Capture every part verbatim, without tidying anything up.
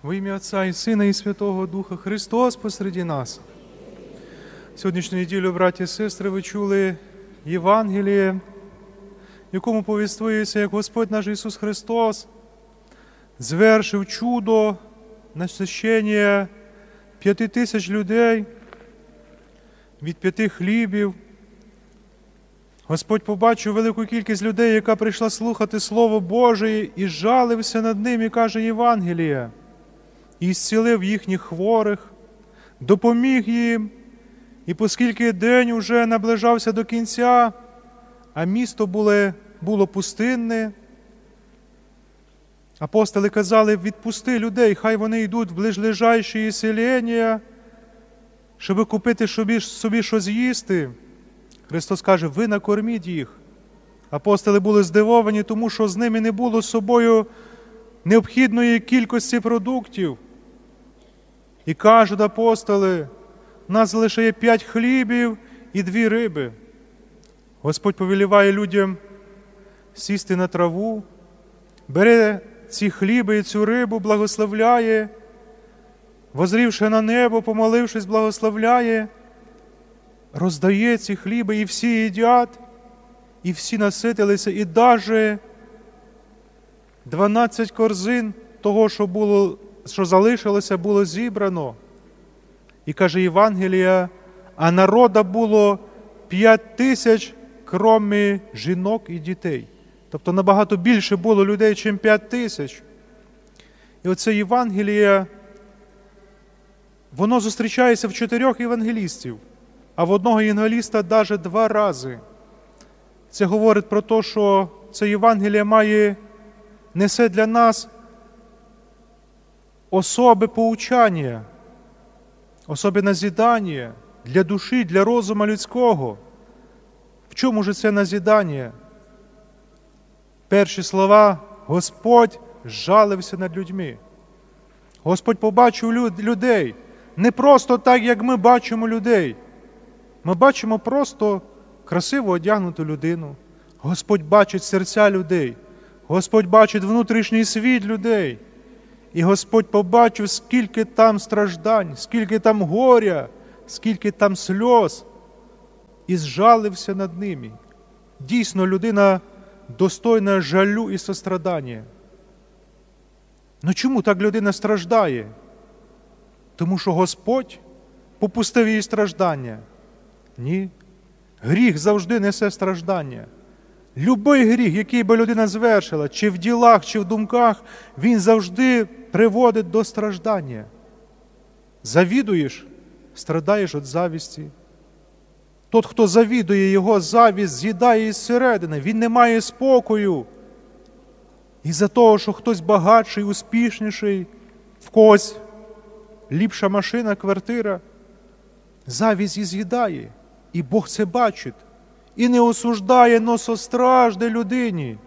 Во імя Отця і Сина і Святого Духа. Христос посеред нас. Сьогоднішню неділю, браті і сестри, ви чули Євангеліє, в якому повіствується, як Господь наш Ісус Христос звершив чудо насыщення пяти тысяч людей від пяти хлібів. Господь побачив велику кількість людей, яка прийшла слухати Слово Боже, і жалився над ними, каже Євангеліє, і зцілив їхніх хворих, допоміг їм. І оскільки день уже наближався до кінця, а місто було, було пустинне, апостоли казали: «Відпусти людей, хай вони йдуть в ближлежащі селення, щоб купити собі, собі щось їсти». Христос каже: «Ви накорміть їх». Апостоли були здивовані, тому що з ними не було з собою необхідної кількості продуктів. І кажуть апостоли: «У нас лише є пять хлібів і дві риби». Господь повеліває людям сісти на траву, бере ці хліби і цю рибу, благословляє, возрівши на небо, помолившись, благословляє, роздає ці хліби, і всі їдять, і всі наситилися, і даже дванадцять корзин того, що було, що залишилося, було зібрано. І каже Євангелія: «А народа було пять тисяч, кроме жінок і дітей». Тобто набагато більше було людей, чим пять тисяч. І оце Євангеліє, воно зустрічається в чотирьох євангелістів, а в одного євангеліста даже два рази. Це говорить про те, що це Євангеліє має, несе для нас особе поучання, особе назидання для душі, для розуму людського. В чому ж це назидання? Перші слова: «Господь жалився над людьми». Господь побачив люд-, людей не просто так, як ми бачимо людей. Ми бачимо просто красиво одягнуту людину. Господь бачить серця людей. Господь бачить внутрішній світ людей. І Господь побачив, скільки там страждань, скільки там горя, скільки там сльоз, і зжалився над ними. Дійсно, людина достойна жалю і сострадання. Ну чому так людина страждає? Тому що Господь попустив її страждання? Ні. Гріх завжди несе страждання. Любий гріх, який би людина звершила, чи в ділах, чи в думках, він завжди приводить до страждання. Завідуєш, страдаєш від завісті. Тот, хто завідує, його завість з'їдає із середини, він не має спокою. Із-за того, що хтось багатший, успішніший, в когось ліпша машина, квартира, завість і з'їдає. І Бог це бачить. І не осуждає, но состражде людині.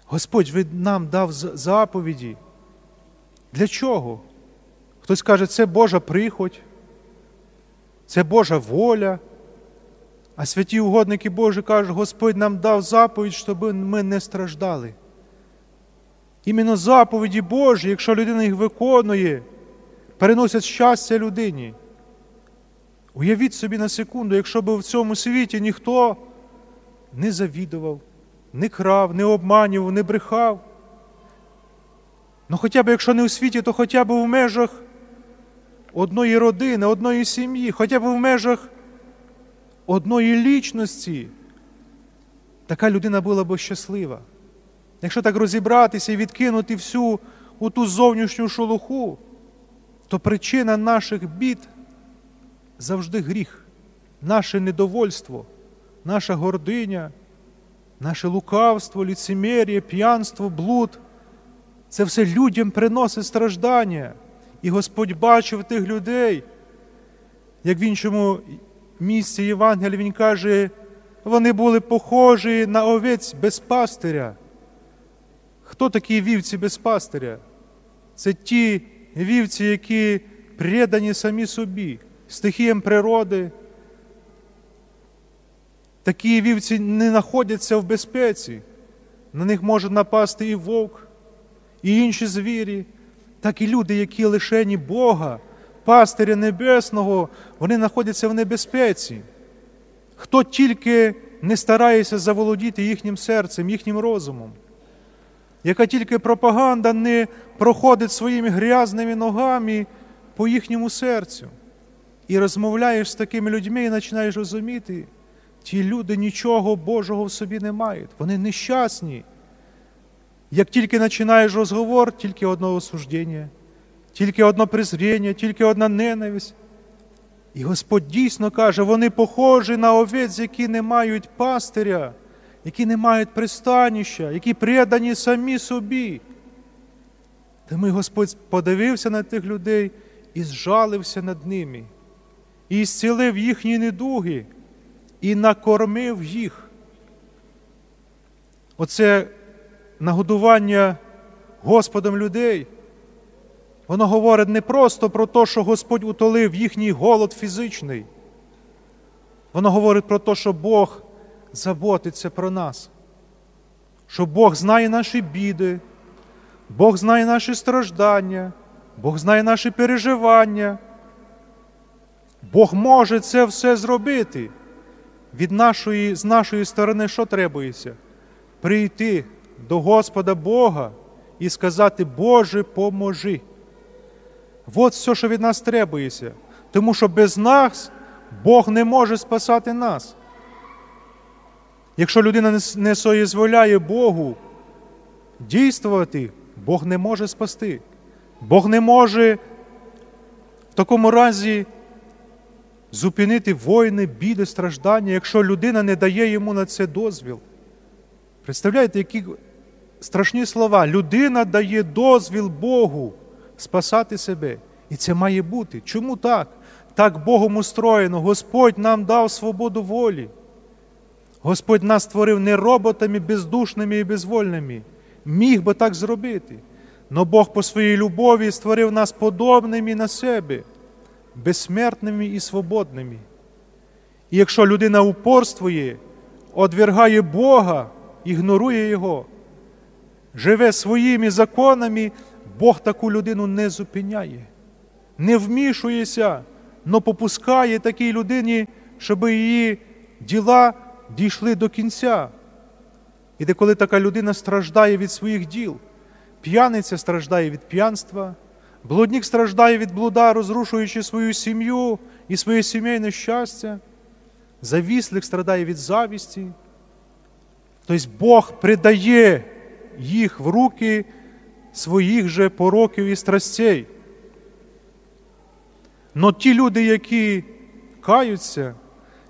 Господь від-, нам дав з-, заповіді. Для чого? Хтось каже: «Це Божа приходь, це Божа воля». А святі угодники Божі кажуть: «Господь нам дав заповідь, щоб ми не страждали». Іменно заповіді Божі, якщо людина їх виконує, приносять щастя людині. Уявіть собі на секунду, якщо б в цьому світі ніхто не завідував, не крав, не обманював, не брехав. Ну, хоча б, якщо не у світі, то хоча б в межах одної родини, одної сім'ї, хоча б в межах одної лічності. Така людина була б щаслива. Якщо так розібратися і відкинути всю у ту зовнішню шелуху, то причина наших бід завжди гріх, наше недовольство, наша гординя, наше лукавство, ліцемір'я, п'янство, блуд. Це все людям приносить страждання. І Господь бачив тих людей, як в іншому місці Євангелія, він каже: «Вони були похожі на овець без пастиря». Хто такі вівці без пастиря? Це ті вівці, які предані самі собі, стихіям природи. Такі вівці не знаходяться в безпеці. На них може напасти і вовк, і інші звірі, так і люди, які лишені Бога, пастиря небесного, вони знаходяться в небезпеці. Хто тільки не старається заволодіти їхнім серцем, їхнім розумом, яка тільки пропаганда не проходить своїми грязными ногами по їхньому серцю. І розмовляєш з такими людьми і починаєш розуміти, ті люди нічого Божого в собі не мають, вони нещасні. Як тільки починаєш розговор, тільки одно осуждення, тільки одно презрення, тільки одна ненависть. І Господь дійсно каже: вони похожі на овець, які не мають пастиря, які не мають пристанища, які предані самі собі. Тому й Господь подивився на тих людей і зжалився над ними, і зцілив їхні недуги, і накормив їх. Оце нагодування Господом людей, воно говорить не просто про те, що Господь утолив їхній голод фізичний. Воно говорить про те, що Бог заботиться про нас, що Бог знає наші біди, Бог знає наші страждання, Бог знає наші переживання. Бог може це все зробити. Від нашої, з нашої сторони що требується? Прийти до Господа Бога і сказати: «Боже, поможи». От все, що від нас требується. Тому що без нас Бог не може спасати нас. Якщо людина не с-, не соізволяє Богу дійствовати, Бог не може спасти. Бог не може в такому разі зупинити війни, біди, страждання, якщо людина не дає йому на це дозвіл. Представляєте, які страшні слова. Людина дає дозвіл Богу спасати себе. І це має бути. Чому так? Так Богом устроєно. Господь нам дав свободу волі. Господь нас створив не роботами бездушными і безвольными. Міг би так зробити. Но Бог по своїй любові створив нас подобными на себе, безсмертными і свободными. І якщо людина упорствує, одвергає Бога, ігнорує Його, живе своїми законами, Бог таку людину не зупиняє, не вмішується, но попускає такій людині, щоб її діла дійшли до кінця. І деколи така людина страждає від своїх діл. П'яниця страждає від п'янства, блудник страждає від блуда, розрушуючи свою сім'ю і своє сімейне щастя. Завістлик страдає від завісті. Тобто Бог придає їх в руки своїх же пороків і страстей. Но ті люди, які каються,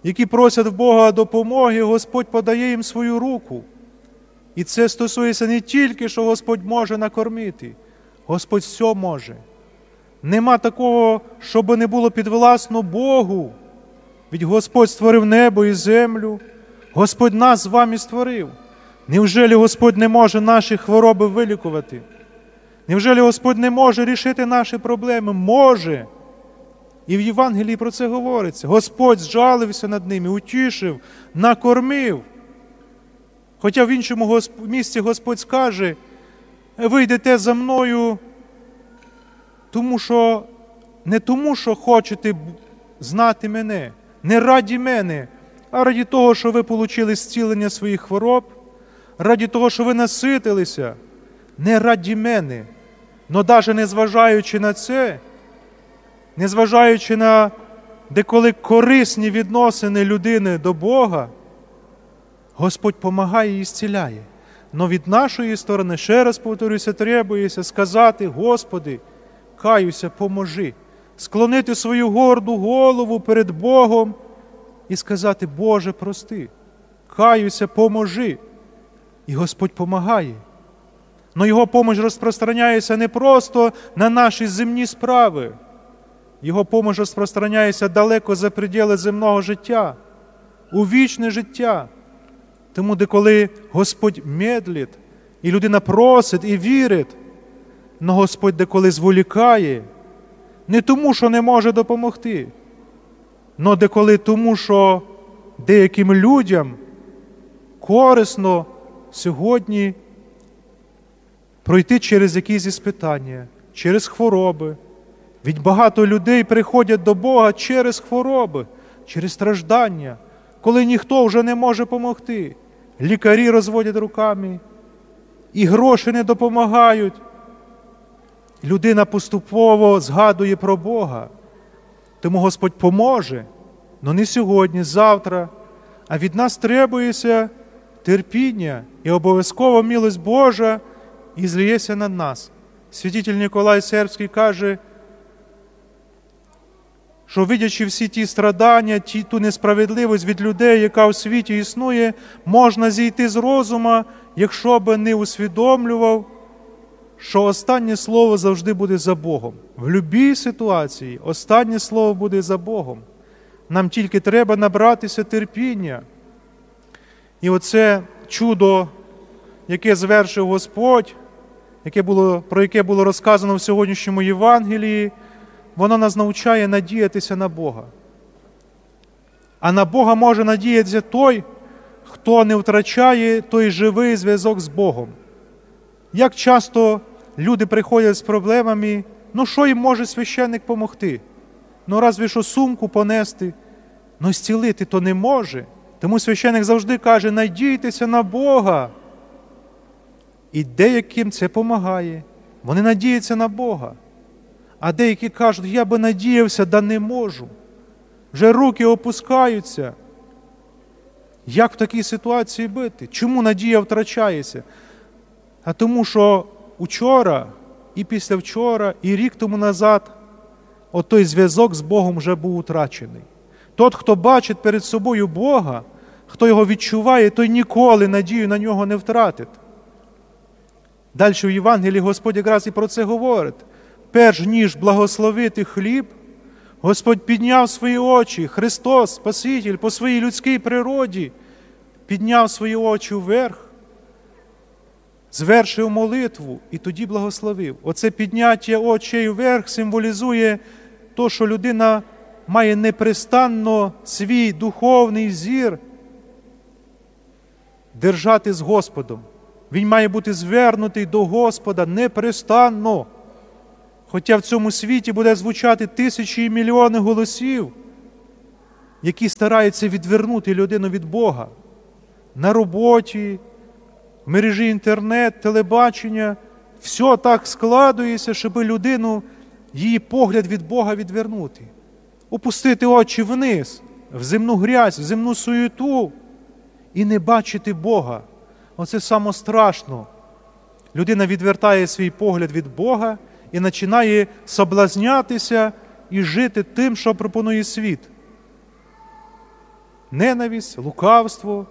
які просять в Бога допомоги, Господь подає їм свою руку. І це стосується не тільки, що Господь може накормити, Господь все може. Нема такого, що би не було підвласно Богу. Ведь Господь створив небо і землю. Господь нас з вами створив. Невже Господь не може наші хвороби вилікувати? Невже Господь не може рішити наші проблеми? Може. І в Євангелії про це говориться. Господь зжалився над ними, утішив, накормив. Хоча в іншому Госп-, місці Господь скаже: «Ви йдете за мною, тому що, не тому, що хочете б-, знати мене, не раді мене, а раді того, що ви получили зцілення своїх хвороб, раді того, що ви наситилися, не раді мене». Но даже незважаючи на це, незважаючи на деколи корисні відносини людини до Бога, Господь помагає і зціляє. Но від нашої сторони, ще раз повторюся, требується сказати: «Господи, каюся, поможи». Склонити свою горду голову перед Богом і сказати: «Боже, прости, каюся, поможи». І Господь помагає. Но Його помощь розпространяється не просто на наші земні справи. Його помощь розпространяється далеко за пределы земного життя, у вічне життя. Тому деколи Господь медлить, і людина просить і вірить, но Господь деколи зволікає, не тому, що не може допомогти, но деколи тому, що деяким людям корисно сьогодні пройти через якісь іспитання, через хвороби. Ведь багато людей приходять до Бога через хвороби, через страждання, коли ніхто вже не може помогти. Лікарі розводять руками, і гроші не допомагають. Людина поступово згадує про Бога. Тому Господь поможе, но не сьогодні, завтра. А від нас требується терпіння, і обов'язково милость Божа і зліється на нас. Святитель Ніколай Сербський каже, що, видячи всі ті страдання, ті, ту несправедливость від людей, яка у світі існує, можна зійти з розума, якщо би не усвідомлював, що останнє слово завжди буде за Богом. В любій ситуації останнє слово буде за Богом. Нам тільки треба набратися терпіння. І оце чудо, яке звершив Господь, яке було, про яке було розказано в сьогоднішньому Євангелії, воно нас навчає надіятися на Бога. А на Бога може надіятися той, хто не втрачає той живий зв'язок з Богом. Як часто люди приходять з проблемами, ну, що їм може священник помогти? Ну, разве що сумку понести, ну, зцілити то не може. Тому священник завжди каже: «Надійтеся на Бога». І деяким це помагає. Вони надіються на Бога. А деякі кажуть: «Я би надіявся, да не можу. Вже руки опускаються». Як в такій ситуації бути? Чому надія втрачається? А тому, що учора, і післявчора, і рік тому назад отой зв'язок з Богом вже був утрачений. Тот, хто бачить перед собою Бога, хто його відчуває, той ніколи надію на нього не втратить. Дальше в Євангелії Господь якраз і про це говорить. Перш ніж благословити хліб, Господь підняв свої очі, Христос, Спаситель, по своїй людській природі, підняв свої очі вверх, звершив молитву і тоді благословив. Оце підняття очей вверх символізує то, що людина має непрестанно свій духовний зір держати з Господом. Він має бути звернутий до Господа непрестанно. Хоча в цьому світі буде звучати тисячі і мільйони голосів, які стараються відвернути людину від Бога. На роботі, в мережі інтернет, телебачення, все так складується, щоб людину, її погляд від Бога відвернути. Опустити очі вниз, в земну грязь, в земну суєту і не бачити Бога. Оце саме страшно. Людина відвертає свій погляд від Бога і починає соблазнятися і жити тим, що пропонує світ. Ненависть, лукавство.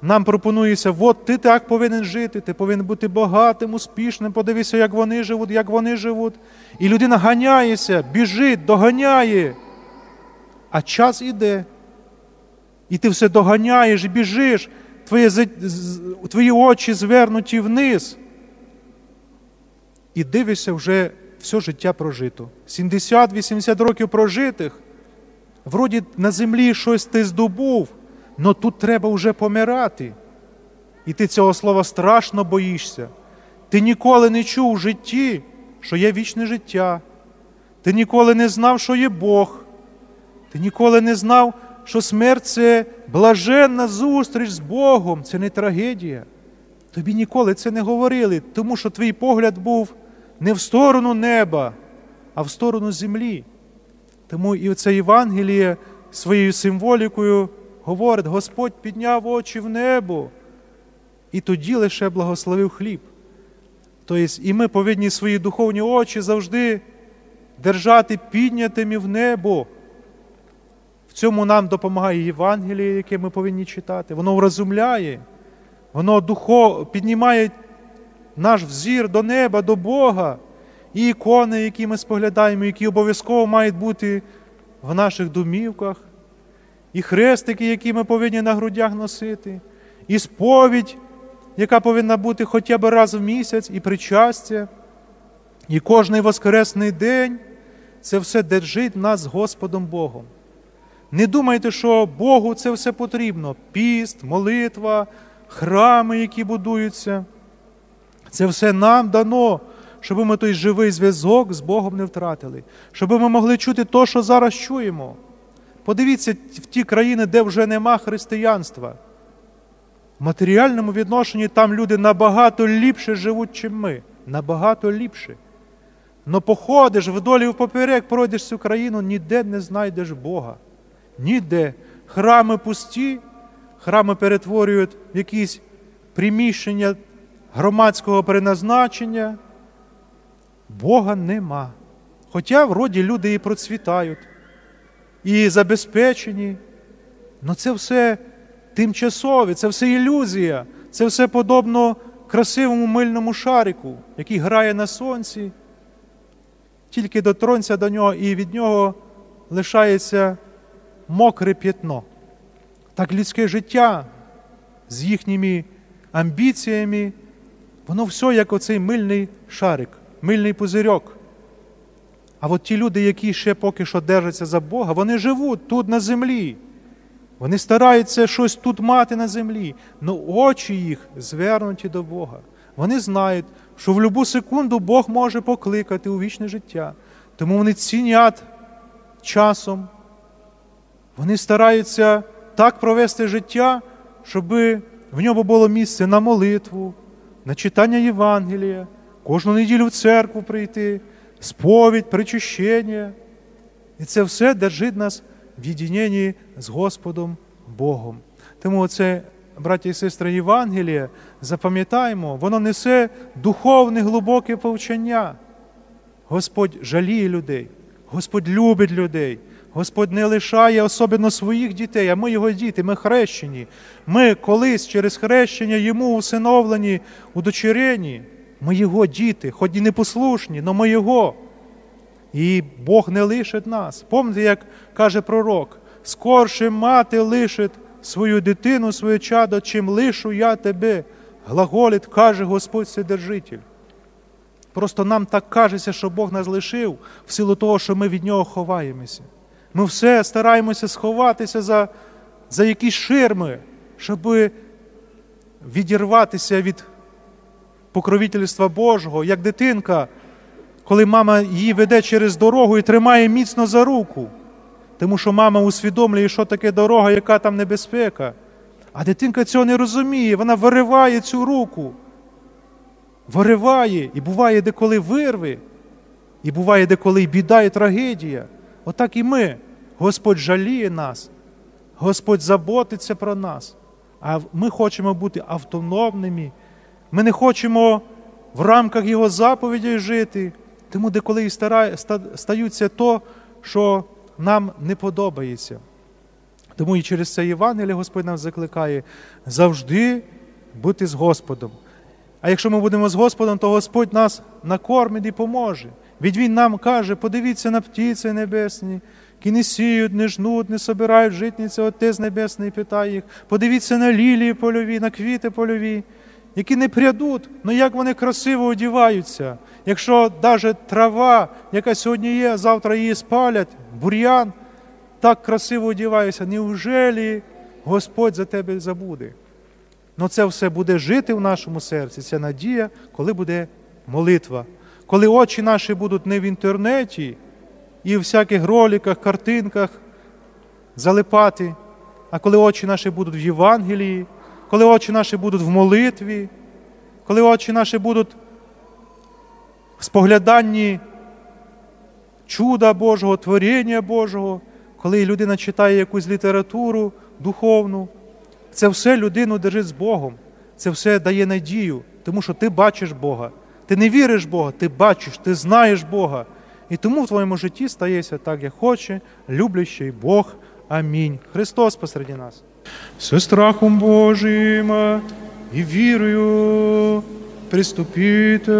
Нам пропонується: «От ти так повинен жити, ти повинен бути багатим, успішним, подивися, як вони живуть, як вони живуть». І людина ганяється, біжить, доганяє. А час іде. І ти все доганяєш, і біжиш, твоє, з- з- твої очі звернуті вниз. І дивишся, вже все життя прожито. Сімдесят-вісімдесят років прожитих, вроді на землі щось ти здобув, но тут треба вже помирати. І ти цього слова страшно боїшся. Ти ніколи не чув у житті, що є вічне життя. Ти ніколи не знав, що є Бог. Ти ніколи не знав, що смерть — це блаженна зустріч з Богом, це не трагедія. Тобі ніколи це не говорили, тому що твій погляд був не в сторону неба, а в сторону землі. Тому і це Євангеліє своєю символікою говорить: Господь підняв очі в небо і тоді лише благословив хліб. Тобто і ми повинні свої духовні очі завжди держати піднятими в небо. В цьому нам допомагає Євангеліє, яке ми повинні читати. Воно вразумляє, воно духо... піднімає наш взір до неба, до Бога. І ікони, які ми споглядаємо, які обов'язково мають бути в наших домівках, і хрестики, які ми повинні на грудях носити, і сповідь, яка повинна бути хоча б раз в місяць, і причастя, і кожний воскресний день. Це все держить нас з Господом Богом. Не думайте, що Богу це все потрібно. Піст, молитва, храми, які будуються. Це все нам дано, щоб ми той живий зв'язок з Богом не втратили, щоб ми могли чути то, що зараз чуємо. Подивіться в ті країни, де вже нема християнства. В матеріальному відношенні там люди набагато ліпше живуть, чим ми. Набагато ліпше. Но походиш вдоль і впоперек, пройдеш цю країну, ніде не знайдеш Бога. Ніде. Храми пусті, храми перетворюють в якісь приміщення громадського призначення. Бога нема. Хоча вроді люди і процвітають, і забезпечені, но це все тимчасове, це все ілюзія, це все подобно красивому мильному шарику, який грає на сонці. Тільки дотронься до нього, і від нього лишається мокре пятно. Так людське життя з їхніми амбіціями, воно все як оцей мильний шарик, мильний пузирьок. А от ті люди, які ще поки що держаться за Бога, вони живуть тут на землі. Вони стараються щось тут мати на землі, но очі їх звернуті до Бога. Вони знають, що в любу секунду Бог може покликати у вічне життя. Тому вони цінять часом. Вони стараються так провести життя, щоб в ньому було місце на молитву, на читання Євангелія, кожну неділю в церкву прийти, сповідь, причащення. І це все держить нас в єдиненні з Господом Богом. Тому це, браття і сестри, Євангеліє, запам'ятаємо, воно несе духовне глибоке повчання. Господь жаліє людей, Господь любить людей, Господь не лишає особливо своїх дітей, а ми його діти, ми хрещені. Ми колись через хрещення йому усиновлені, удочерені. Ми його діти, хоч і непослушні, но ми його. І Бог не лишить нас. Помните, як каже пророк: «Скорше мати лишить свою дитину, своє чадо, чим лишу я тебе», глаголить, каже Господь Вседержитель. Просто нам так кажеться, що Бог нас лишив в силу того, що ми від нього ховаємося. Ми все стараємося сховатися за, за якісь ширми, щоб відірватися від покровительства Божого, як дитинка, коли мама її веде через дорогу і тримає міцно за руку, тому що мама усвідомлює, що таке дорога, яка там небезпека. А дитинка цього не розуміє, вона вириває цю руку, вириває, і буває деколи вирве, і буває деколи і біда, і трагедія. Отак і ми. Господь жаліє нас, Господь заботиться про нас. А ми хочемо бути автономними. Ми не хочемо в рамках його заповідей жити. Тому деколи і стара-, ста-, стаються то, що нам не подобається. Тому і через це Євангеліє Господь нас закликає завжди бути з Господом. А якщо ми будемо з Господом, то Господь нас накормить і поможе. Ведь Він нам каже: «Подивіться на птиці небесні, які не сіють, не жнуть, не собирають в житниці, Отець Небесний питає їх. Подивіться на лілії польові, на квіти польові, які не прядуть, но як вони красиво одіваються. Якщо даже трава, яка сьогодні є, завтра її спалять, бур'ян, так красиво одівається. Неужели Господь за тебе забуде?» Но це все буде жити в нашому серці, ця надія, коли буде молитва. Коли очі наші будуть не в інтернеті і в всяких роликах, картинках залипати, а коли очі наші будуть в Євангелії, коли очі наші будуть в молитві, коли очі наші будуть в спогляданні чуда Божого, творіння Божого, коли людина читає якусь літературу духовну, це все людину держить з Богом, це все дає надію, тому що ти бачиш Бога. Ти не віриш в Бога, ти бачиш, ти знаєш Бога. І тому в твоєму житті стається так, як хоче люблячий Бог. Амінь. Христос посеред нас. Со страхом Божим і вірою приступите.